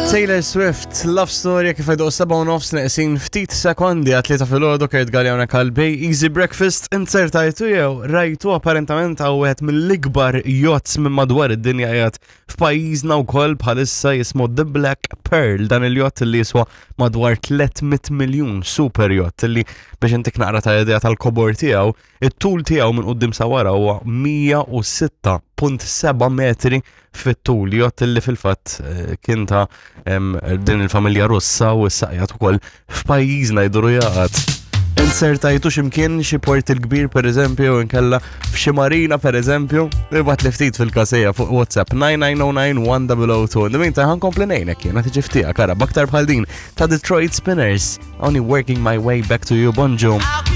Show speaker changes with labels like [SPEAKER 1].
[SPEAKER 1] Taylor Swift, Love Story, kif għedu 7 u nofs neqsin ftit sekondi għatlita fil-ħodu Kurt Galli kalbej Easy Breakfast inzertajtu jew rajtu apparentament għaw wieħed mill-ikbar yachts minn madwar id-dinja qiegħed f'pajjiżna wkoll bħalissa jismu The Black Pearl dan il-yacht li jiswa madwar 300 miljun super yacht li biex intik naqra ta' idea tal-kobor tiegħu It-tul tiegħu minn quddiem sa wara huwa 106.7 metri fit-tul, jott li fil-fatt eh, kien ta' din il-familja Russa u s-saqjat ukoll f'pajjiżna jduru jaqgħad. Insertajtu x'imkien xi port il-kbir pereżempju inkella f'xi marina pereżempju, ibgħat li ftit fil-kasejja fuq WhatsApp 9909 1002. In the meantime ħankompli ngħinek jiena tiġi ftija kara b'aktar bħal din ta' Detroit Spinners, Only Working My Way Back to You Bonġu.